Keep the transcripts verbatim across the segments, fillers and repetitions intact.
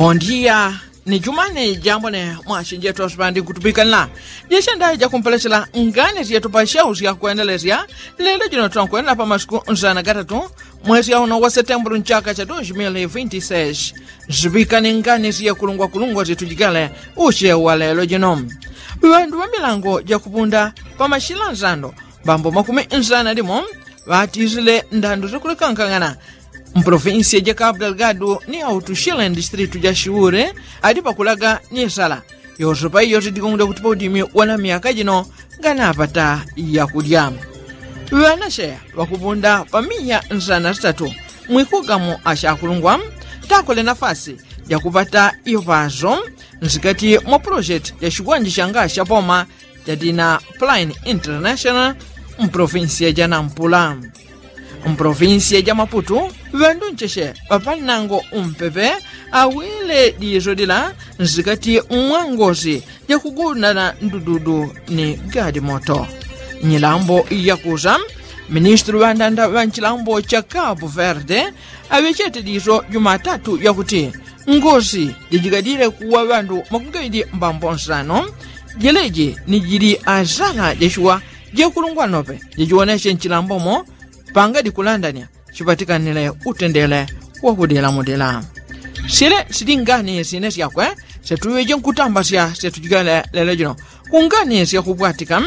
Bondiya. Ni jumane jambo ne mwashi jetu asupandi nkutupikanila jeshenda jakumpelechela ngani syetu pa shau syakwendelesya. Lelo jino twankwenela pa masiku nzana gatatu mwesi auno wa setembulu nchaka cha dos mil vinti seis. Zipikane ngani syekulungwakulungwa syetujikele usye wa lelo jino. Ŵandu ŵa milango jakupunda pa mashila nzando mbambo makumi nzana limo ŵatisile ndandu syakulekankang'ana mpolofinsiya ja kapu delgadu ni autushile ndistritu ja shiure adi pakulaga ni sala. Yosepa iyo sidikongoja kuti paudimi wana myaka jino nganapata yakulya. Ŵanashe ŵakupunda pa miya nsana sitatu mwikugamo ashakulungwa takole nafasi jakupata ipaso nsikati mwa pulojeti ja shikwanje shanga shapoma jadina plain international mpolofinsiya ja nampula. Mpolofinsiya ja maputu ŵandu ncheche ŵapanango umpepe awile diso dila nsikati mwa ngosi jakugundana ndududu ni gadi moto. Nyilambo yakusa ministulu ŵandanda ŵa nchilambo cha kapu verde aŵechete diso jumatatu yakuti ngosi jajigadile kuwa ŵandu makumi gawili mbambo nsano. Jeleji ni jili asala jachiwa jekulungwa nope jajiwoneshe nchilambomo panga dikulandanya chipatikanile utendele wakudilamudila. Sile sili ngani sine syakwe setuŵeje nkutambasya setujikele lelo jino. Kungani syakupwatika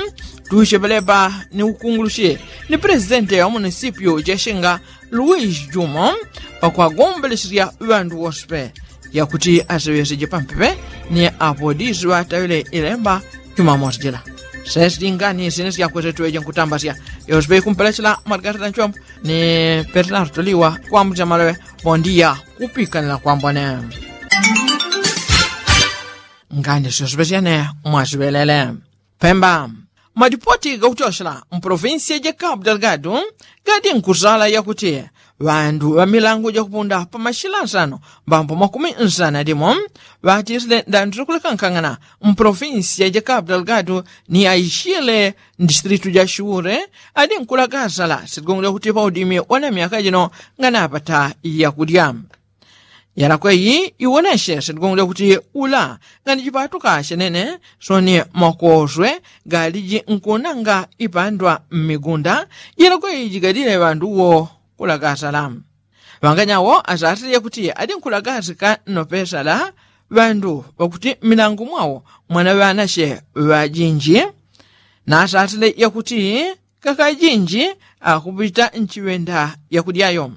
tuchepelepa ni ukungulushi ni presidente wa munisipyu jeshinga luis jumo pakwagombelesya ŵandu wose pe yakuti aseŵeseje pampepe ni apodisi ŵatawile ilemba jumamosi jila. Sesili ngani sine syakwe setuŵeje nkutambasya yose pe ikumpelechela margarita nchombo ni pertinarto liwa kwambucha maloŵe. Bondiya kupikanila kwambone. Ngani syose pe syene mwasiŵelele. Pemba. Madipoti gakutyosela mpolofinsiya ja kapu delgadu gadi nkusala yakuti ŵandu ŵa milangu jakupunda pa mashila nsano mbambo makumi nsana limo ŵatisile ndandu syakulekankang'ana mpolofinsiya ja kapu delgadu ni aishile ndistritu ja shiure adi nkulagasala sigongo lyakuti paudimi wana myaka jino nganapata yakulya. Yalakwe iyi iwoneshe sendigongo lyakuti ula ngani jipatuka shenene soni makoswe galiji nkunanga ipandwa mmigunda. Yalakwe iyi jigadile ŵandu wo kulagasala ŵanganyawo asasile yakuti adi nkulagasika nopesala ŵandu ŵakuti mmilangu mwawo mwana ŵanashe ŵajinji nasasile yakuti kakajinji akupita nchiŵenda yakudyayo.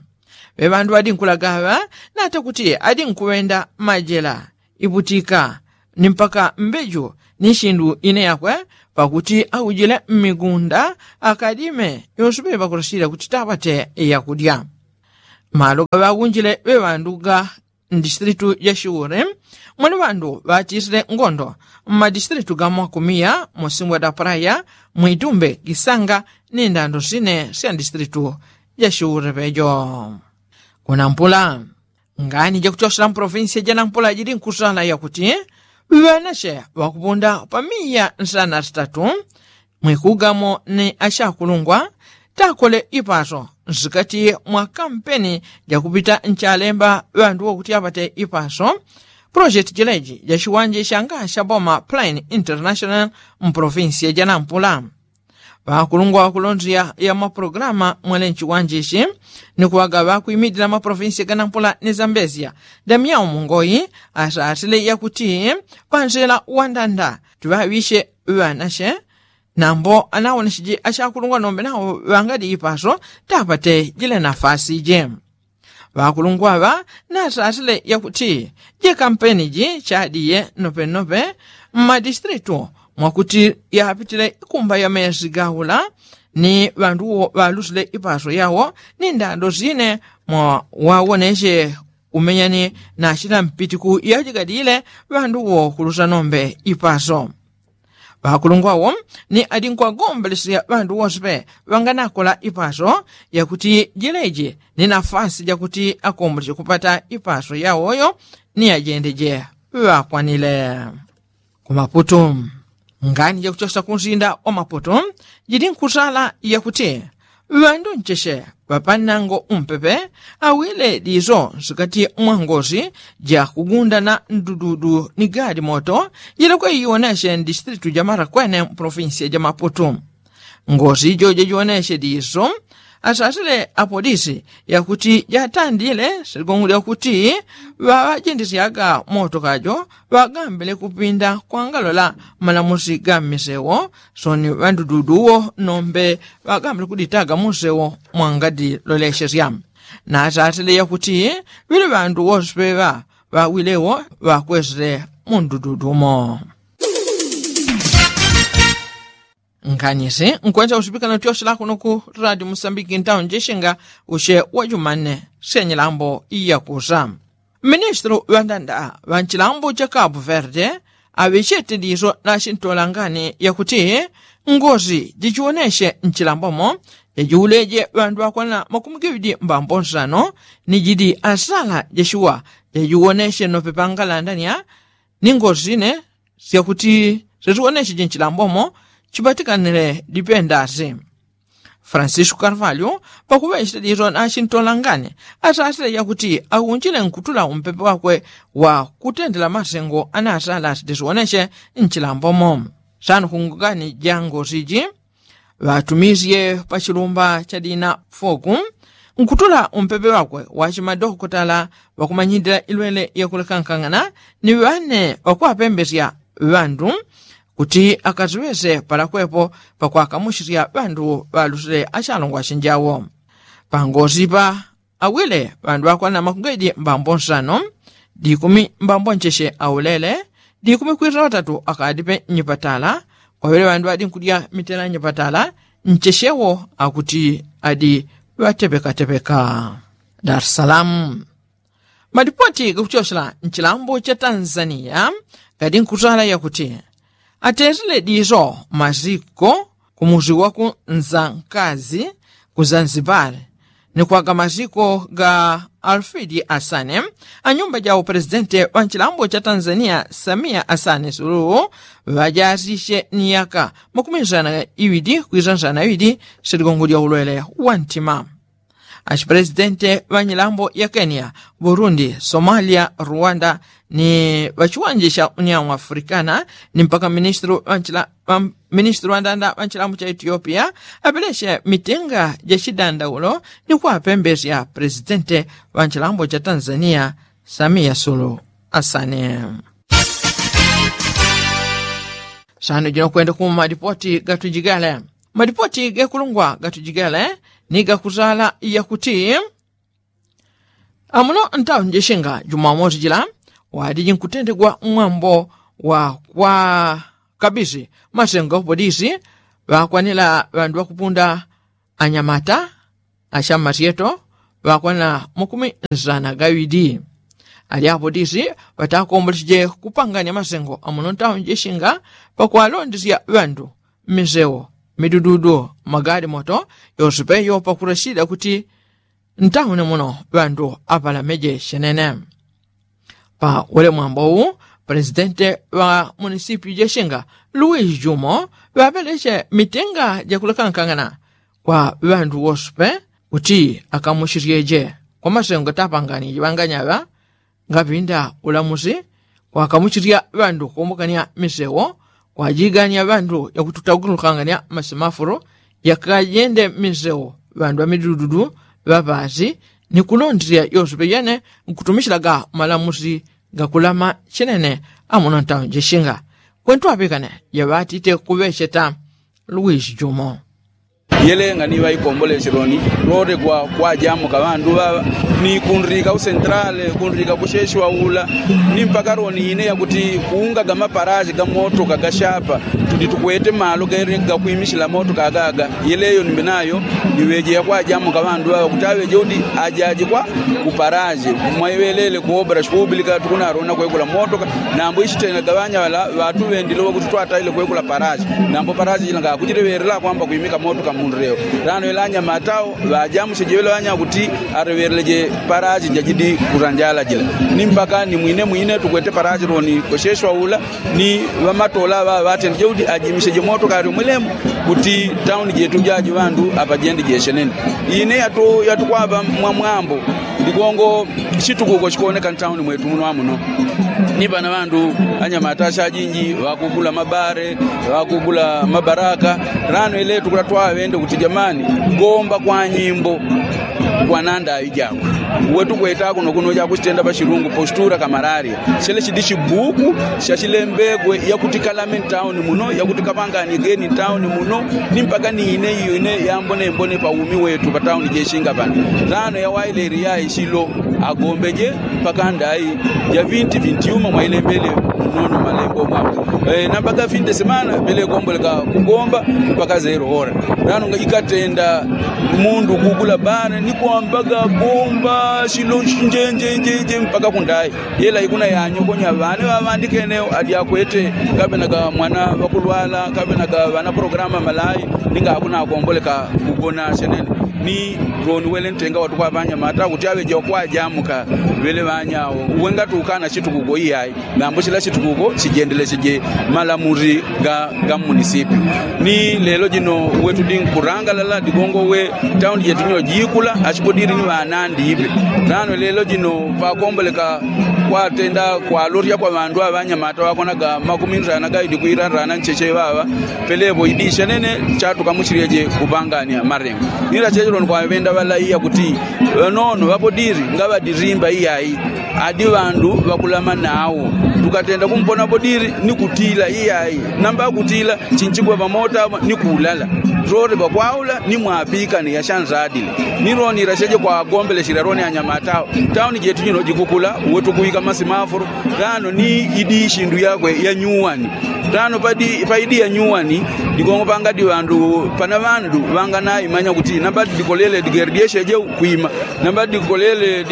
Ŵe ŵandu ŵadinkulaga ŵa nata kuti adinkuŵenda majela iputika ni mpaka mbeju ni shindu ine yakwe pakuti aujile mmigunda akadime yonse ŵe ŵakulasila kuti tapate yakudya. Malo gaŵagunjile ŵe ŵandu ga mdistritu ja shiure mwali ŵandu ŵatisile ngondo mmadistritu ga mwakumiya musimbwa da praya mwitumbe gisanga ni ndando sine sya distritu ja shiure ŵejo. Kunampula ngani jakutyosela mpolofinsiya janampula jili nkusala yakuti ŵanashe ŵakupunda pa miya nsana sitatu mwikugamo ni ashakulungwa takole ipaso nsikati mwa kampeni jakupita nchalemba ŵandu wokuti apate ipaso. Pulojeti jileji jashiwanje shanga shaboma plain international mpolofinsiya janampula ŵakulungwa ŵakulonzya ya mapulogalamu mwele nchiwanje ichi ni kuŵagaŵa kwimidila mapolofinsiya ganampula ni zambezya damyao mungoyi asasile yakuti panzila wandanda tiŵaŵishe ŵanashe nambo anawonesheje ashakulungwa nombe nawo ŵangali ipaso tapate jile nafasi je. Ŵakulungwa ŵa nasasile yakuti jekampeni ji chadiye nopenope mmadistritu mwakuti yapitile ikumba ya mezi gaula ni ŵandu wo ŵalusile ipaso yawo ni ndando sine mwawawoneshe umenyani na shila mpitiku yajigadile ŵandu wo kulusa nombe ipaso. Ŵakulungwa wo ni adinkwagombolesya ŵandu wose pe ŵanganakola ipaso yakuti jileji ni nafasi jakuti akombolesye kupata ipaso yawoyo ni ajendeje ŵakwanile. Kumaputu ngani jakuchosa kunsinda wa maputu jili nkusala yakuti Ŵandu ncheche ŵapanango umpepe awile diso nsikati mwa ngosi ja kugunda na ndududu ni gali moto jilekwe iwoneche ndisitilitu ja marakwene mpolofinsiya ja maputu. Ngosi ijo jajiwoneche diso asasile apolisi yakuti jatandile siligongolya kuti ŵaŵajendesyaga moto kajo ŵagambile kupinda kwangalola malamusi ga mmisewo soni ŵandududu wo nombe ŵagambile kuditaga musewo mwangadiloleshesya. Nasasile yakuti ŵili ŵandu wose peŵa ŵawilewo ŵakwesile mundududu mo. Nkanisi nkwensa usipikana utyoshela kuno ku radio musambiki ntawo njeshinga ushe wa jumane syenyilambo iyakusa. Ministru ŵandanda ŵa nchilambo cha kabu verde aŵechete diso na chintolangani yakuti ngosi jichiwoneshe nchilambomo jajiwuleje ŵandu ŵakwana makumi giŵidi mbambo nsano ni jidi asala jashuwa jajiwoneshe nope pangalandania ni ngosi ne syakuti syesiwonesheje nchilambomo chipatikanile dipendasi. Francisco karvalyo pakuŵechete diso na chintolangani asasile yakuti akunjile nkutula umpepe wakwe wa kutendela masengo anasala sitisioneshe nchilambomo. Sanu kungani ja ngosi ji ŵatumisye pa chilumba cha dina foku nkutula umpepe wakwe wa chimadokotala ŵakumanyindila ilwele yakulekankangana ni ŵane ŵakwapembesya ŵandu kuti akaziŵese palakwepo pakwakamushisya ŵandu ŵalusile achalongwa chinjawo. Pangosi pa awile ŵandu ŵakwana makungedi mbambo nsano dikumi mbambo ncheche aulele dikumi kwisa ŵatatu akadipe nyipatala kwawile ŵandu ŵadinkudya mitela nyipatala nchechewo akuti adi ŵatepekatepeka. Dar es salamu. Malipoti gakuchochela nchilambo cha tanzania gadi nkutala yakuti atesile diso maziko kumusi waku nzankazi ku zanzibari ni kwaga maziko ga alfidi asane anyumba ja upresidente wa nchilambo cha tanzania samia asane suluhu ŵajasishe ni yaka makumi nsana iwidi kwisa nsana iwidi siligongo lya ulwele wa ntima. Achipresidente ŵa nyilambo ya kenya, burundi, somalia, rwanda ni ŵachiwanje cha union africana ni mpaka ministru ŵa nchila- ŵa- ministru ŵa ndanda ŵa nchilambo cha etiopia apeleche mitenga ja chidandaulo ni kwapembesya presidente ŵa nchilambo cha tanzania samia sulu asane. Sano jino kwenda kuma malipoti gatujigale. Malipoti gekulungwa gatujigale ni gakuzala yakuti amuno ntawo njeshinga jumamosi jila wadiji nkutendegwa mwambo wa kwa kabisi masengo polisi ŵakwanila ŵandu ŵakupunda anyamata ashamasyeto ŵakwana makumi nsana gawidi. Alyapo disi ŵatakomboleseje kupanganya masengo amuno ntawo njeshinga pakwalondesya ŵandu mmisewo midududu magali moto yose peyo pakurashida kuti ntawo nemuno ŵandu apalameje shenene. Pa wele mwambo wu presidente ŵa munisipyu jeshinga luis jumo ŵapeleche mitenga jakulekankangana kwa ŵandu wose pe kuti akamuchisyeje kwa masengo tapangani jiŵanganyaŵa ngapinda ulamusi kwakamuchisya ŵandu kumbukania misewo kwajigania ŵandu yakututagulukangania masemafulu yakajende misewo ŵandu ŵamidududu ŵapasi ni kulondesya yose peyene nkutumishilaga malamusi gakulama chinene amuno ntawo njeshinga. Kwentu apikane yaŵatite kuŵecheta luis jumo. Yelenga ni ŵaikombolesyeloni lole kwa kwajamuka ŵandu ŵaŵa ni kundika ku sentrale kundika ku sheshiwa ula ni mpaka loni ine yakuti kuungaga maparashi ga motoka gashapa tudi tukwete malo gakwimishila motoka agaga. Yeleyo nimbenayo niŵeje yakwajamuka ŵandu ŵaŵa kuti aŵeje kuti ajajikwa kuparashi mwaiŵelele ku obras publika tukunalona kwekula motoka nambo ishitengaga ŵanya ŵala ŵatuŵendile wakuti twataile kwekula parashi nambo parashi jila ngakujileŵelela kwamba kwimika motoka. Mundu leo lano ila anyamata ao ŵajamuche jewele ŵanya kuti areŵeleje parachi jajidi kuranjala jila. Ni mpaka ni mwine mwine tukwete parachi loni kosheshwa ula ni ŵamatola ŵaŵatende jeudi ajimisheje moto kali umwilemu kuti tauni jetu jaji ŵandu apajende jeshenene. Ine yatu yatukwapa mwamwambo ligongo shitukuko shikoneka ntauni mwetu muno amuno. Ni pana ŵandu anyamata shajinji ŵakugula mabare ŵakugula mabaraka. Lano iletu kula twaŵende kuti jamani, gomba kwa nyimbo kwananda aijako. Uwe tukweta kuno kuno jakushitenda pashilungu postura kamalaria. Shele shidi shibuku shashilembegwe yakuti kalame ntauni muno yakuti kapangani geni ntauni muno. Ni mpaka ni ine iyo ine yambonembone pa umi wetu patauni jeshinga pani. Lano yawaileri yaishilo agombeje mpaka ndai ya vinti vinti yuma mwailembele. Munono malembo mwako namba gafinde semana pele komboleka kugomba mpaka zero hora. Lano ikatenda mundu kugula bana ni kwambaga gomba shilo njenjenjenje mpaka kundai. Yela ikuna yanyokonya ŵane ŵaŵandikene adi akwete kaŵenaga mwana ŵakulwala kaŵenaga ŵana programa malai. Ninga akuna akomboleka kugona shenene. Ni loni wele ntenga watukwapa anyamata kuti aŵeje wakwajamuka. Ŵele ŵanya awo uwe ngati ukana shitukuko iyai. Nambo shila shitukuko shijendelesheje malamuzi ga ga munisipyu. Ni lelo jino uwe tudi nkurangalala digongo uwe tauni jetu jino jikula ashipodili ni ŵanandi ipe. Lano lelo jino pakomboleka kwatenda kwalorya kwa ŵandu aŵanyamata ŵakonaga makumi nrana gaidi kwila nrana ncheche ŵaŵa. Pelepo idisha nene chatukamuchilyeje kupangania marengo. Nila cheche loni kwaŵenda ŵalaiya kuti ŵanono ŵapodili ngaŵadilimba iyai. Adi ŵandu ŵakulama nawo tukatenda kumpona podili ni kutila iyai. Namba kutila chinchigwa pamota ni kulala lole pakwaula ni mwapikane yashanzadile. Ni loni ila cheche kwagombeleshela loni anyamata awo. Tauni jetu jino jikukula uwe tukuika masimafulu. Lano ni idi ishindu yakwe ya nyuwani. Lano paidi ya nyuwani digongo pangadi ŵandu pana ŵandu ŵanganaimanya kuti namba dikolele digeri dyesheje kwima. Namba dikolele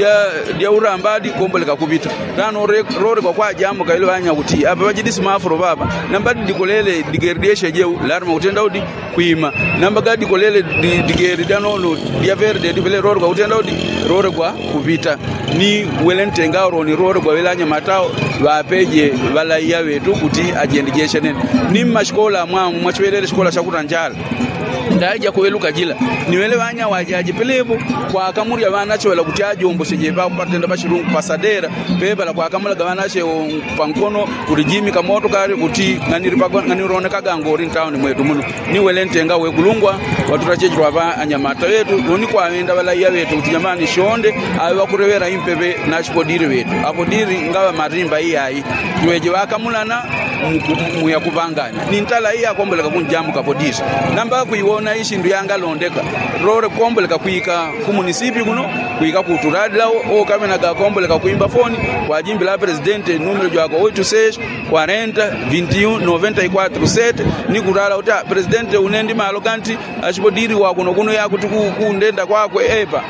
dya urambadi komboleka kupita. Lano lole kwakwajamuka ile ŵanya kuti apa ŵajidi simafulo ŵaŵa. Namba dikolele digeri dyesheje larima kutenda udi kwima. Namba gadikolele digeri dya nono dya verde dipele lole kwakutenda udi lole kwakupita. Ni wele ntenga awo loni lole gwaŵele anyamata awo ŵapeje ŵalaiya ŵetu kuti ajendejeshe nene. Ni mmashikola amwamu mwachiŵelele shikola shakutanjala ndaija kuŵeluka jila. Ni ŵele ŵanya ŵajaje pelepo kwakamulya ŵanache ŵala kuti ajomboseje papatenda pashilungu pasadera. Pepala kwakamulaga ŵanache pankono kuti jimika motokali kuti ng'anilonekaga ngoli ntauni mwetu muno. Ni wele ntenga wekulungwa watutacheche lwaŵa anyamata ŵetu loni kwaŵenda ŵalaiya ŵetu kuti jamani shonde aŵe ŵakuleŵela impepe. Nashipodili ŵetu apodili ngaŵa malimba iyai. Tuŵeje ŵakamulana muya kupangana ni ntala iyakomboleka kunjamuka podili. Namba kwiwona ishindu yangalondeka lole kukomboleka kwika ku munisipi kuno kwika kutuladila okaŵenaga akomboleka kwimba foni kwajimbila apresidente numelo jwako oitu seshi kwarenta vinti un noventa i kwatru sete. Ni kulala kuti apresidente une ndi malo ganti ashipodili wakuno kuno yakuti kundenda kwakwe epa.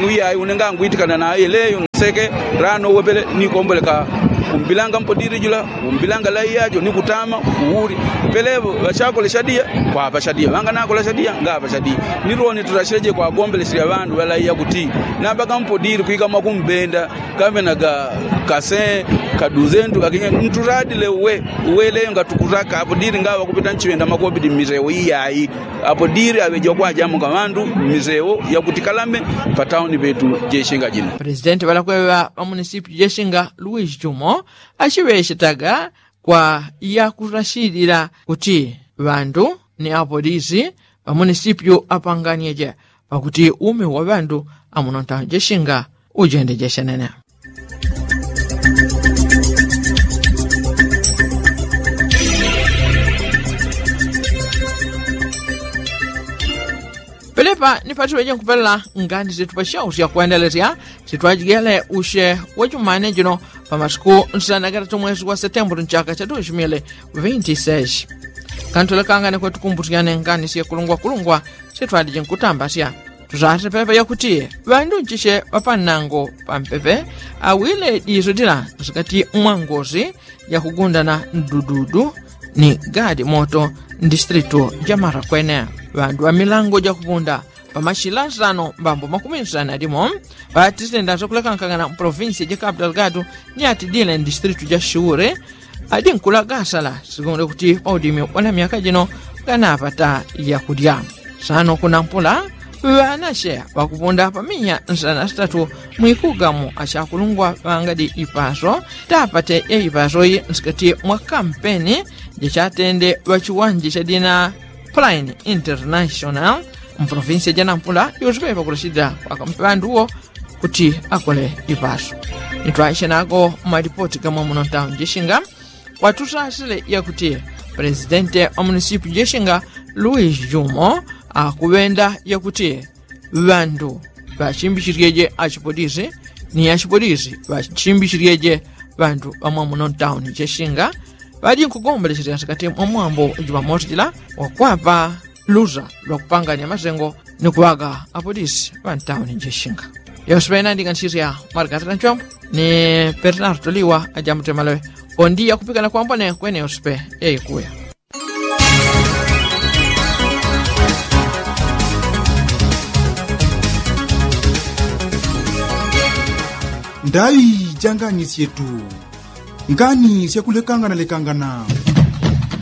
Uyai une ngangwitikana naye leyo nseke. Lano uwe pele ni komboleka kumbilanga mpodili jula kumbilanga laiya jo ni kutama kuuli. Pelepo ŵachakole shadiya kwapa shadiya ŵanganakola shadiya ngapa shadiya. Ni loni tulasheje kwagombeleselya ŵandu ŵalaiya kuti namba kampodili kwika mwakumbenda kaŵenaga kase kaduzentu kakinya ntuladile uwe. Uwe leyo ngatukulaka apodili ngaŵa kupita nchiŵenda makobidi mmisewo iyai. Apodili aŵeje wakwajamuka ŵandu mmisewo yakutikalame patauni petu jeshinga jino. Presidenti ŵalakweŵa ŵa munisipyu jeshinga luis jumo achiŵeshetaga kwa yakurashilila kuti ŵandu ni apolisi ŵa munisipyu apanganyeje pakuti umi wa ŵandu amuno ntauni jeshinga ujende jeshenene. Pelepa ni patiŵeje nkupelela ngani situpasha usya kwendelesya sitwajigele usye wachumane jino pa masiku nsana gatatu mwesi wa setembuli nchaka cha tushimile vinti seshi. Kantulekangane kwetukumbusyane ngani syekulungwakulungwa sitwalije nkutambasya. Tusase pepe yakuti ŵandu nchishe ŵapanango pampepe awile diso dila nsikati mwangosi yakugundana ndududu ni gadi moto. mdistritu ja mara kwene. Ŵandu ŵa milango ja kupunda pamachila nsano mbambo makumi nsano alimo ŵatisenda zakulekangana mpolovinsi ja kapu dalgadu ni atidile mdistritu ja shuure adi nkulagasala sigonde kuti paudimi wana myaka jino ganapata yakulya. Sano kunampula ŵanache ŵakupunda paminya nsana sitatu mwikugamu achakulungwa ŵangadi ipaso tapate ya ipaso yi nsikati mwa kampeni jachatende ŵachiwanje chadina plain international mpolovinsi janampula yosepe pakulachidila kwakampe ŵanduwo kuti akole ipaso. Nitwaishe nako malipoti gamwa muno ntauni jishinga kwatusasile yakuti pulezidenti wa munisipi jishinga luis jumo akuŵenda yakuti ŵandu ŵachimbichilyeje achipolisi ni achipolisi ŵachimbichilyeje ŵandu ŵamwa muno ntauni jishinga ŵajinkugombolechelela nsikati mwa mwambo jupamosi jila wakwapa lusa lwakupanganya masengo ni kuŵaga apolisi ŵantauni jishinga. Yose ŵena ndiganisisya mwarikatila nchombo ni pernar tuliwa ajamutemaleŵe. Ondi yakupikana kwambone kwene yose pe yaikuya. Ndaŵi janganisyetu ngani syakulekangana lekangana.